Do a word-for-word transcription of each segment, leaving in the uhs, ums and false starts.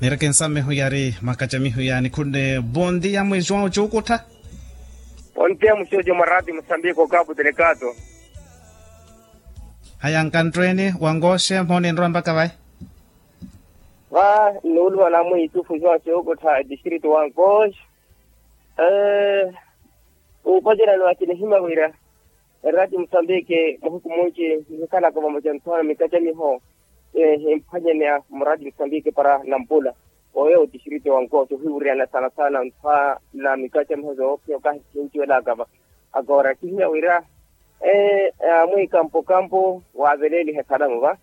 Nireke nsamihu yari makacamihu yaani khunne. Bontia mwijuwa ocukuttha. Bontia muxojo mwarati musambiko kapu telekato. Haya nkanttweeni wankooxe mhooni nrwa mpakha vayi. Va nnuuluwa namwe itufu juwa cukuttha etistritu wankooxe. Uupacerani wakinihimya wira erati musambiki muhiku munci nihikhalaka vamoca nthoona mikacamiho. Himphwanyeneya murati musambiki para nampula oyo otistrito wa nkooxo ohiwuriyana sana sana nthwa na mikacamiho zoophiya okahi kihinciwelaka va. Agora kihimya wira amwe kampokampo waaveleeliha salamu va.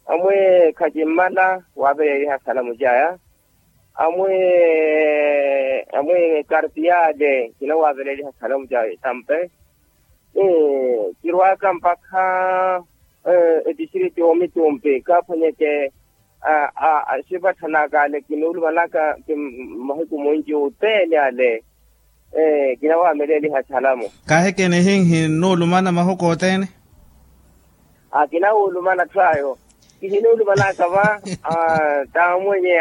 Amwe khacimmala waaveleeliha salamu caya. Amwe amwe kartiyale kinawaaveleeliha salamu caya tampe. Kirwaaka mpakha etistrito omitumpi kaaphwanyeke axipatthanaka ale kinuulumanaka mahiku munci othene ale. Kinawaameleliha salamu. Kaahikene hihi nnuulumana mahuku othene. Akinawuulumana tthwayo kihinuulumanaka va. Taamwenye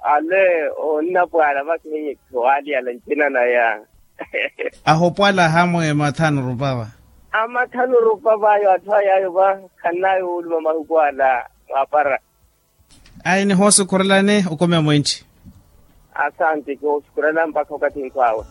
ale onnapwaala va kihiye kiwaaliyala ncina naya. Ahopwala hamwe mathanu rupa va. Amathanu rupa vayo atthu ay'ayo va. Khannayo wuuluma mahuku ala mwaapara. Ayi nihoosukhurelani okumi amwinci. Asanti kihoosukhurela mpakha okathi nkhwaawe.